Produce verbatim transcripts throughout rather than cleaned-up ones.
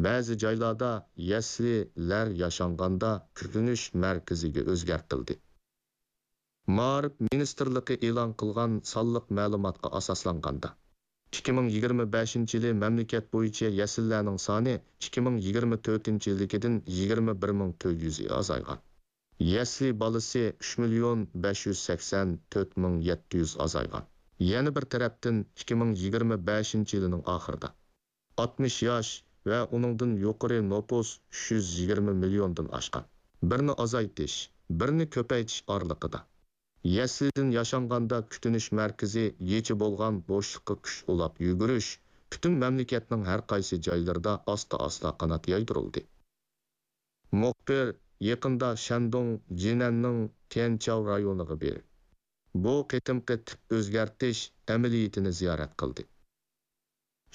بەزى جايلاردا يەسلىلەر ياشانغاندا كۈتۈنۈش مەركىزىگە ئۆزگەرتىلدى. مائارىپ مىنىستىرلىقى ئېلان قىلغان سانلىق مەلۇماتقا ئاساسلانغاندا، ئىككى مىڭ يىگىرمە بەشىنچى يىلى مەملىكەت بويىچە يەسلىلەرنىڭ سانى ئىككى مىڭ يىگىرمە تۆتىنچى يىلدىكىدىن يىگىرمە بىر مىڭ تۆت يۈز ئازايغان. يەسلى بالىسى ئۈچ مىليون بەش يۈز سەكسەن تۆت مىڭ يەتتە يۈز ئازايغان. يەنە بىر تەرەپتىن، ئىككى مىڭ يىگىرمە بەشىنچى يىلىنىڭ ئاخىرىدا ئاتمىش ياش ۋە ئۇنىڭدىن يۇقىرى نوپۇس ئۈچ يۈز يىگىرمە مىليوندىن ئاشقان. بىرنى ئازايتىش، بىرنى كۆپەيتىش ئارىلىقىدا. يەسلىدىن ياشانغاندا كۈتۈنۈش مەركىزى يېچى بولغان بوشلۇققا كۈچ ئۇلاپ يۈگۈرۈش پۈتۈن مەملىكەتنىڭ ھەر قايسى جايلىرىدا ئاستا-ئاستا قانات يايدۇرۇلدى. مۇخبىر يېقىندا شەندۇڭ، جىنەننىڭ تيەنچاۋ رايونىغا بېرىپ، بۇ قېتىمقى تىپ ئۆزگەرتىش ئەمەلىيىتىنى زىيارەت قىلدى.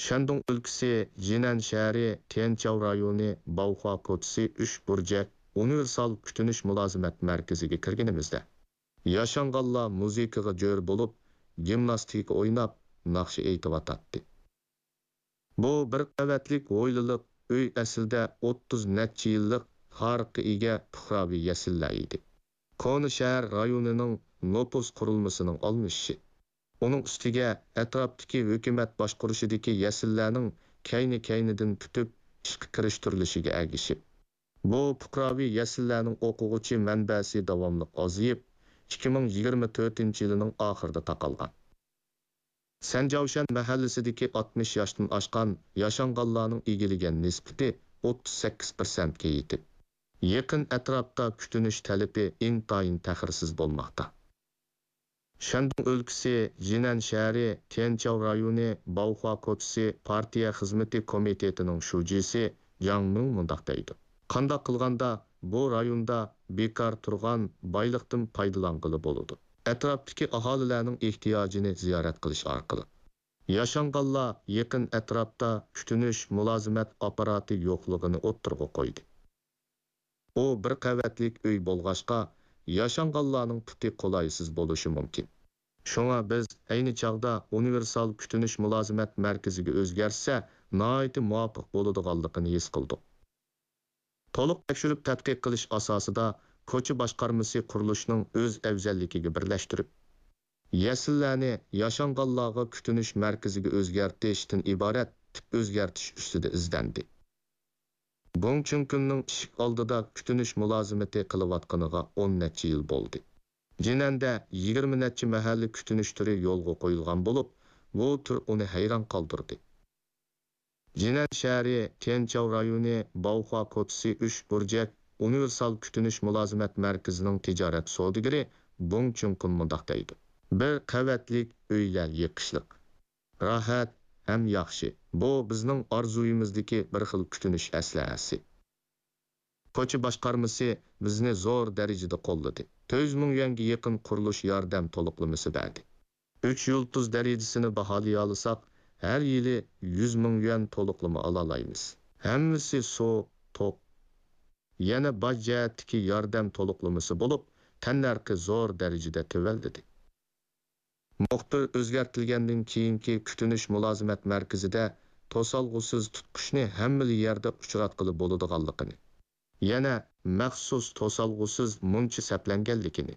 شەندۇڭ ئۆلكىسى جىنەن شەھىرى تيەنچاۋ رايونى باۋخۇا كوچىسى ئۈچ بۇرجەك ئۇنىۋېرسال كۈتۈنۈش مۇلازىمەت مەركىزىگە كىرگىنىمىزدە، ياشانغانلار مۇزىكىغا جۆر بولۇپ، گىمناستىكا ئويناپ، ناخشا ئېيتىۋاتاتتى. بۇ بىر قەۋەتلىك ھويلىلىق ئۆي ئەسلىدە ئوتتۇز نەچچە يىللىق تارىخقا ئىگە پۇقراۋى يەسلىلەر ئىدى. كونا شەھەر رايونىنىڭ نوپۇس قۇرۇلمىسىنىڭ ئالمىشىشى، ئۇنىڭ ئۈستىگە ئەتراپتىكى ھۆكۈمەت باشقۇرۇشىدىكى يەسلىلەرنىڭ كەينى-كەينىدىن پۈتۈپ ئىشقا كىرىشتۈرۈلۈشىگە ئەگىشىپ، بۇ پۇقراۋى يەسلىلەرنىڭ ئوقۇغۇچى مەنبەسى داۋاملىق ئازىيىپ، ئىككى مىڭ يىگىرمە تۆتىنچى يىلىنىڭ ئاخىرىدا تاقالغان. سەنجاۋشەن مەھەللىسىدىكى ئاتمىش ياشتىن ئاشقان ياشانغانلارنىڭ ئىگىلىگەن نىسبىتى ئوتتۇز سەككىز پىرسەنتكە يېتىپ، يېقىن ئەتراپتا كۈتۈنۈش تەلىپى ئىنتايىن تەخىرسىز بولماقتا. شەندۇڭ ئۆلكىسى جىنەن شەھىرى تيەنچاۋ رايونى باۋخۇا كوچىسى پارتىيە خىزمىتى كومىتېتىنىڭ شۇجىسى جاڭ مىڭ مۇنداق دەيدۇ: قانداق قىلغاندا بۇ رايوندا بىكار تۇرغان بايلىقتىن پايدىلانغىلى بولىدۇ؟ ئەتراپتىكى ئاھالىلەرنىڭ ئېھتىياجىنى زىيارەت قىلىش ئارقىلىق، ياشانغانلار يېقىن ئەتراپتا كۈتۈنۈش مۇلازىمەت ئاپپاراتى يوقلۇقىنى ئوتتۇرىغا قويدى. ئۇ بىر قەۋەتلىك ئۆي بولغاچقا، ياشانغانلارنىڭ پۇتى قولايسىز بولۇشى مۇمكىن. شۇڭا بىز ئەينى چاغدا ئۇنىۋېرسال كۈتۈنۈش مۇلازىمەت مەركىزىگە ئۆزگەرتسە، ناھايىتى مۇۋاپىق بولىدىغانلىقىنى ھېس قىلدۇق. تولۇق تەكشۈرۈپ تەتقىق قىلىش ئاساسىدا، كوچا باشقارمىسى قۇرۇلۇشنىڭ ئۆز ئەۋزەللىكىگە بىرلەشتۈرۈپ، يەسلىلەرنى ياشانغانلارغا كۈتۈنۈش مەركىزىگە ئۆزگەرتىشتىن ئىبارەت تىپ ئۆزگەرتىش ئۈستىدە ئىزدەندى. گوڭ چۈڭكۈننىڭ ئىشىك ئالدىدا كۈتۈنۈش مۇلازىمىتى قىلىۋاتقىنىغا ئون نەچچە يىل بولدى. جىنەندە يىگىرمە نەچچە مەھەللە كۈتۈنۈش تۈرى يولغا قويۇلغان بولۇپ، بۇ تۈر ئۇنى ھەيران قالدۇردى. جىنەن شەھىرى تيەنچاۋ رايونى باۋخۇا كوچىسى ئۈچ بۇرجەك ئۇنىۋېرسال كۈتۈنۈش مۇلازىمەت مەركىزىنىڭ تىجارەت سودىگىرى بوڭ چۈڭكۈن مۇنداق دەيدۇ: بىر قەۋەتلىك ئۆيلەر يېقىشلىق، راھەت ھەم ياخشى. بۇ بىزنىڭ ئارزۇيىمىزدىكى بىر خىل كۈتۈنۈش ئەسلىھەسى. كوچا باشقارمىسى بىزنى زور دەرىجىدە قوللىدى. تۆت يۈز مىڭ يۈەنگە يېقىن قۇرۇلۇش ياردەم تولۇقلىمىسى بەردى. ئۈچ يۇلتۇز دەرىجىسىنى باھالىيالىساق، ھەر يىلى يۈز مىڭ يۈەن تولۇقلىما ئالالايمىز. ھەممىسى سۇ، توك، يەنە باج جەھەتتىكى ياردەم تولۇقلىمىسى بولۇپ، تەننەرخى زور دەرىجىدە تۆۋەنلىدى. مۇخبىر ئۆزگەرتىلگەندىن كېيىنكى كۈتۈنۈش مۇلازىمەت مەركىزىدە توسالغۇسىز تۇتقۇچنى ھەممىلا يەردە ئۇچراتقىلى بولىدىغانلىقىنى، يەنە مەخسۇس توسالغۇسىز مۇنچا سەپلەنگەنلىكىنى،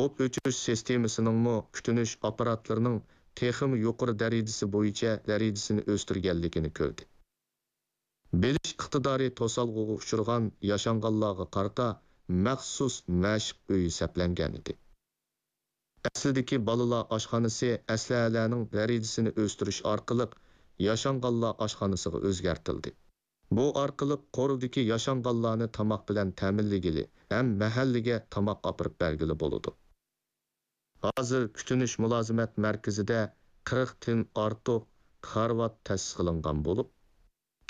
ئوت ئۆچۈرۈش سىستېمىسىنىڭمۇ كۈتۈنۈش ئاپپاراتلىرىنىڭ تېخىمۇ يۇقىرى دەرىجىسى بويىچە دەرىجىسىنى ئۆستۈرگەنلىكىنى كۆردى. بىلىش ئىقتىدارى توسالغۇغا ئۇچرىغان ياشانغانلارغا قارىتا مەخسۇس مەشىق ئۆيى سەپلەنگەنىدى. ئەسلىدىكى بالىلار ئاشخانىسى ئەسلىھەلەرنىڭ دەرىجىسىنى ئۆستۈرۈش ئارقىلىق ياشانغانلار ئاشخانىسىغا ئۆزگەرتىلدى. بۇ ئارقىلىق قورۇدىكى ياشانغانلارنى تاماق بىلەن تەمىنلىگىلى ھەم مەھەللىگە تاماق ئاپىرىپ بەرگىلى بولىدۇ. ھازىر كۈتۈنۈش مۇلازىمەت مەركىزىدە قىرىقتىن ئارتۇق كارىۋات تەسىس قىلىنغان بولۇپ،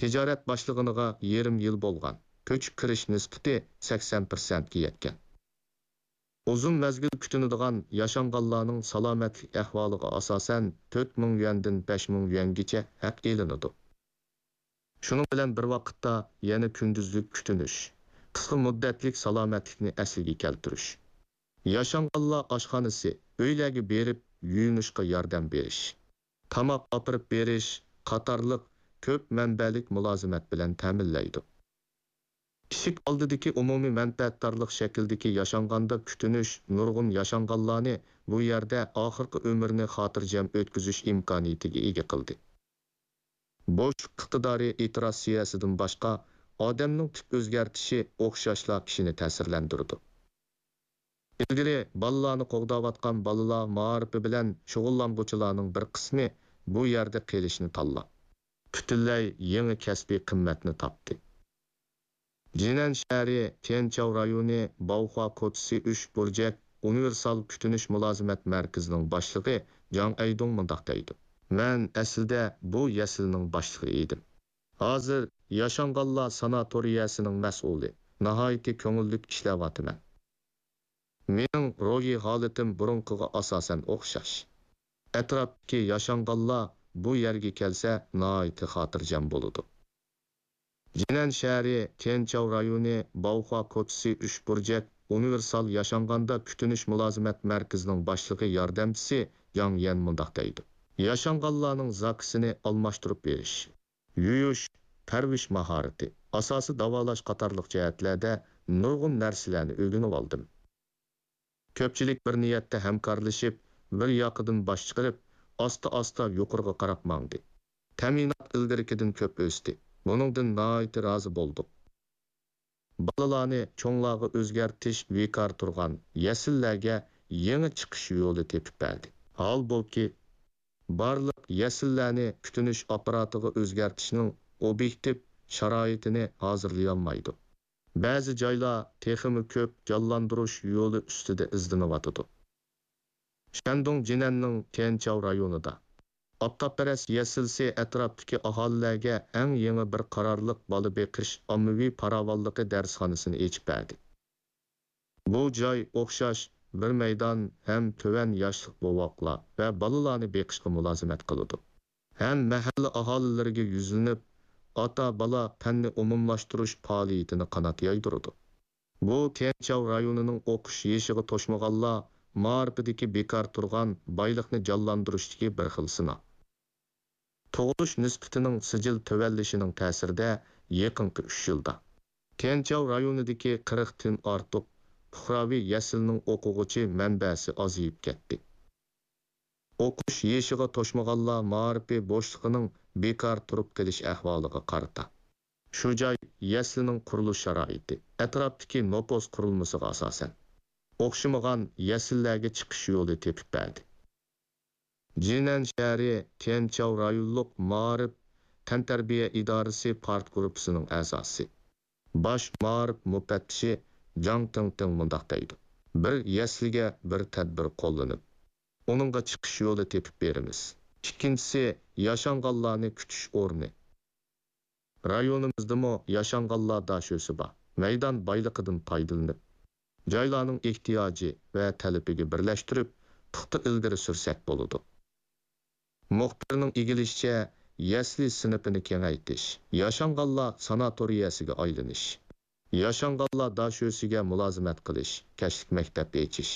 تىجارەت باشلىغىنىغا يېرىم يىل بولغان. كۆچۈپ كىرىش نىسبىتى سەكسەن پىرسەنتكە يەتكەن. ئۇزۇن مەزگىل كۈتۈنىدىغان ياشانغانلارنىڭ سالامەتلىك ئەھۋالىغا ئاساسەن، تۆت مىڭ يۈەندىن بەش مىڭ يۈەنگىچە ھەق ئېلىنىدۇ. شۇنىڭ بىلەن بىر ۋاقىتتا، يەنە كۈندۈزلۈك كۈتۈنۈش، قىسقا مۇددەتلىك سالامەتلىكنى ئەسلىگە كەلتۈرۈش، ياشانغانلار ئاشخانىسى، ئۆيلەرگە بېرىپ يۇيۇنۇشقا ياردەم بېرىش، تاماق ئاپىرىپ بېرىش قاتارلىق كۆپ مەنبەلىك مۇلازىمەت بىلەن تەمىنلەيدۇ. ئىشىك ئالدىدىكى ئومۇمىي مەنپەئەتدارلىق شەكلىدىكى ياشانغاندا كۈتۈنۈش نۇرغۇن ياشانغانلارنى بۇ يەردە ئاخىرقى ئۆمرىنى خاتىرجەم ئۆتكۈزۈش ئىمكانىيىتىگە ئىگە قىلدى. بوشلۇق ئىقتىدارى ئېتىراز سىياسىتىدىن باشقا، ئادەمنىڭ تىپ ئۆزگەرتىشى ئوخشاشلا كىشىنى تەسىرلەندۈرىدۇ. ئىلگىرى بالىلارنى قوغداۋاتقان بالىلار مائارىپى بىلەن شۇغۇللانغۇچىلارنىڭ بىر قىسمى بۇ يەردە قېلىشنى تاللاپ، پۈتۈنلەي يېڭى كەسپىي قىممەتنى تاپتى. جىنەن شەھىرى تيەنچاۋ رايونى باۋخۇا كوچىسى ئۈچ بۇرجەك ئۇنىۋېرسال كۈتۈنۈش مۇلازىمەت مەركىزىنىڭ باشلىقى جاڭ ئەيدۇڭ مۇنداق دەيدۇ: مەن ئەسلىدە بۇ يەسلىنىڭ باشلىقى ئىدىم. ھازىر ياشانغانلار ساناتورىيەسىنىڭ مەسئۇلى، ناھايىتى كۆڭۈللۈك ئىشلەۋاتىمەن. مېنىڭ روھىي ھالىتىم بۇرۇنقىغا ئاساسەن ئوخشاش. ئەتراپتىكى ياشانغانلار بۇ يەرگە كەلسە ناھايىتى خاتىرجەم بولىدۇ. جىنەن شەھىرى تيەنچاۋ رايونى باۋخۇا كوچىسى ئۈچ بۇرجەك ئۇنىۋېرسال ياشانغاندا كۈتۈنۈش مۇلازىمەت مەركىزىنىڭ باشلىقى ياردەمچىسى جاڭ يەن مۇنداق دەيدۇ: ياشانغانلارنىڭ زاكىسىنى ئالماشتۇرۇپ بېرىش، يۇيۇش، پەرۋىش ماھارىتى، ئاساسىي داۋالاش قاتارلىق جەھەتلەردە نۇرغۇن نەرسىلەرنى ئۆگىنىۋالدىم. كۆپچىلىك بىر نىيەتتە ھەمكارلىشىپ، بىر ياقىدىن باش چىقىرىپ، ئاستا-ئاستا يۇقىرىغا قاراپ ماڭدى. تەمىنات ئىلگىرىكىدىن كۆپ ئۆستى. بۇنىڭدىن ناھايىتى رازى بولدۇق. بالىلارنى چوڭلارغا ئۆزگەرتىش بىكار تۇرغان يەسلىلەرگە يېڭى چىقىش يولى تېپىپ بەردى. ھالبۇكى، بارلىق يەسلىلەرنى كۈتۈنۈش ئاپپاراتىغا ئۆزگەرتىشنىڭ ئوبيېكتىپ شارائىتىنى ھازىرلىيالمايدۇ. بەزى جايلار تېخىمۇ كۆپ جانلاندۇرۇش يولى ئۈستىدە ئىزدىنىۋاتىدۇ. شەندۇڭ جىنەننىڭ تيەنچاۋ رايونىدا ئاپتاپپەرەس يەسلىسى ئەتراپتىكى ئاھالىلەرگە ئەڭ يېڭى بىر قارارلىق بالا بېقىش ئاممىۋى پاراۋانلىقى دەرسخانىسىنى ئېچىپ بەردى. بۇ جاي ئوخشاش بىر مەيدان ھەم تۆۋەن ياشلىق بوۋاقلار ۋە بالىلارنى بېقىشقا مۇلازىمەت قىلىدۇ. ھەم مەھەللە ئاھالىلىرىگە يۈزلىنىپ، ئاتا-بالا پەننى ئومۇملاشتۇرۇش پائالىيىتىنى قانات يايدۇرىدۇ. بۇ تيەنچاۋ رايونىنىڭ ئوقۇش يېشىغا توشمىغانلار مائارىپىدىكى بىكار تۇرغان بايلىقنى جانلاندۇرۇشتىكى بىر خىل سىناق. تۇغۇلۇش نىسبىتىنىڭ سىجىل تۆۋەنلىشىنىڭ تەسىرىدە يېقىنقى ئۈچ يىلدا تيەنچاۋ رايونىدىكى قىرىقتىن ئارتۇق پۇقراۋى يەسلىنىڭ ئوقۇغۇچى مەنبەسى ئازىيىپ كەتتى. ئوقۇش يېشىغا توشمىغانلار مائارىپى بوشلۇقىنىڭ بىكار تۇرۇپ قېلىش ئەھۋالىغا قارىتا، شۇ جاي يەسلىنىڭ قۇرۇلۇش شارائىتى، ئەتراپتىكى نوپۇس قۇرۇلمىسىغا ئاساسەن، ئوخشىمىغان يەسلىلەرگە چىقىش يولى تېپىپ بەردى. جىنەن شەھىرى تيەنچاۋ رايونلۇق مائارىپ، تەنتەربىيە ئىدارىسى پارتگۇرۇپپىسىنىڭ ئەزاسى، باش مائارىپ مۇپەتتىشى جاڭ تىڭتىڭ مۇنداق دەيدۇ: بىر يەسلىگە بىر تەدبىر قوللىنىپ، ئۇنىڭغا چىقىش يولى تېپىپ بېرىمىز. ئىككىنچىسى، ياشانغانلارنى كۈتۈش ئورنى. رايونىمىزدىمۇ ياشانغانلار داشۆسى بار. مەيدان بايلىقىدىن پايدىلىنىپ، جايلارنىڭ ئېھتىياجى ۋە تەلىپىگە بىرلەشتۈرۈپ، پۇختا ئىلگىرى سۈرسەك بولىدۇ. مۇخبىرنىڭ ئىگىلىشىچە، يەسلى سىنىپىنى كېڭەيتىش، ياشانغانلار ساناتورىيەسىگە ئايلىنىش، ياشانغانلار داشۆسىگە مۇلازىمەت قىلىش، كەچلىك مەكتەپ ئېچىش،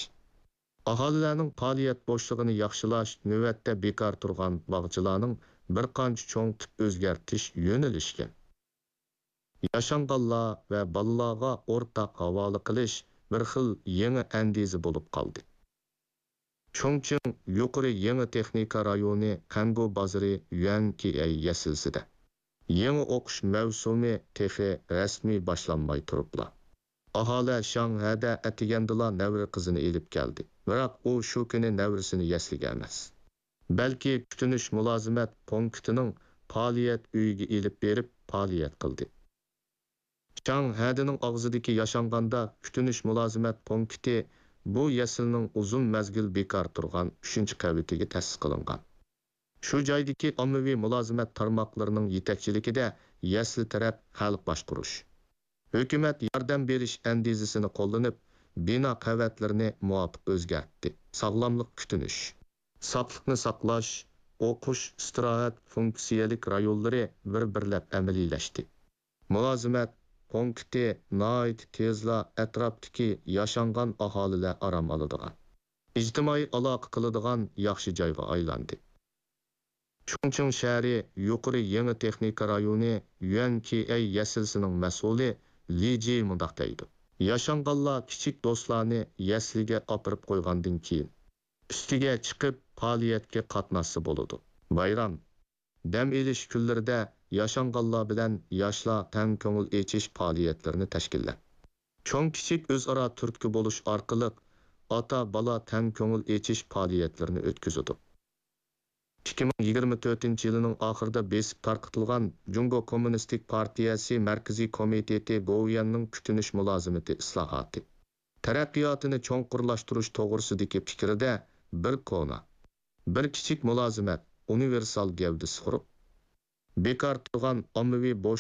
ئاھالىلەرنىڭ پائالىيەت بوشلۇقىنى ياخشىلاش نۆۋەتتە بىكار تۇرغان باغچىلارنىڭ بىر قانچە چوڭ تىپ ئۆزگەرتىش يۆنىلىشكە، ياشانغانلار ۋە بالىلارغا ئورتاق ھاۋالە قىلىش بىر خىل يېڭى ئەندىزە بولۇپ قالدى. چۇڭچىڭ يۇقىرى يېڭى تېخنىكا رايونى خەنگۇ بازىرى يۈەنكىئەي يەسلىسىدە يېڭى ئوقۇش مەۋسۇمى تېخى رەسمىي باشلانماي تۇرۇپلا، ئاھالە شاڭھەدە ئەتىگەندىلا نەۋرە قىزىنى ئېلىپ كەلدى. بىراق ئۇ شۇ كۈنى نەۋرىسىنى يەسلىگە ئەمەس، بەلكى كۈتۈنۈش مۇلازىمەت پونكىتىنىڭ پائالىيەت ئۆيىگە ئېلىپ بېرىپ پائالىيەت قىلدى. شاڭ ھەدىنىڭ ئاغزىدىكى ياشانغاندا كۈتۈنۈش مۇلازىمەت پونكىتى بۇ يەسلىنىڭ ئۇزۇن مەزگىل بىكار تۇرغان ئۈچىنچى قەۋىتىگە تەسىس قىلىنغان. شۇ جايدىكى ئاممىۋى مۇلازىمەت تارماقلىرىنىڭ يېتەكچىلىكىدە يەسلى تەرەپ خەلق باشقۇرۇش، ھۆكۈمەت ياردەم بېرىش ئەندىزىسىنى قوللىنىپ، بىنا قەۋەتلىرىنى مۇۋاپىق ئۆزگەرتتى. ساغلاملىق كۈتۈنۈش، ساقلىقنى ساقلاش، ئوقۇش، ئىستىراھەت فۇنكسىيەلىك رايونلىرى بىر-بىرلەپ ئەمەلىيلەشتى. مۇلازىمەت پونكىتى ناھايىتى تېزلا ئەتراپتىكى ياشانغان ئاھالىلەر ئارام ئالىدىغان، ئىجتىمائىي ئالاقە قىلىدىغان ياخشى جايغا ئايلاندى. چۇڭچىڭ شەھىرى يۇقىرى يېڭى تېخنىكا رايونى يۈەنكېئەي يەسلىسىنىڭ مەسئۇلى لى جى مۇنداق دەيدۇ: ياشانغانلار كىچىك دوستلارنى يەسلىگە ئاپىرىپ قويغاندىن كېيىن، ئۈستىگە چىقىپ پائالىيەتكە قاتناشسا بولىدۇ. بايرام، دەم ئېلىش كۈنلىرىدە ياشانغانلار بىلەن ياشلار تەڭ كۆڭۈل ئېچىش پائالىيەتلىرىنى تەشكىللەپ، چوڭ-كىچىك ئۆزئارا تۈرتكە بولۇش ئارقىلىق ئاتا-بالا تەڭ كۆڭۈل ئېچىش پائالىيەتلىرىنى ئۆتكۈزىدۇ. ئىككى مىڭ يىگىرمە تۆتىنچى يىلىنىڭ ئاخىرىدا بېسىپ تارقىتىلغان جۇڭگو كوممۇنىستىك پارتىيەسى مەركىزىي كومىتېتى گوۋۇيۈەننىڭ كۈتۈنۈش مۇلازىمىتى ئىسلاھاتى، تەرەققىياتىنى چوڭقۇرلاشتۇرۇش توغرىسىدىكى پىكرىدە بىر كونا، بىر كىچىك مۇلازىمەت ئۇنىۋېرسال گەۋدىسى قۇرۇپ، بىكار تۇرغان ئاممىۋى بوش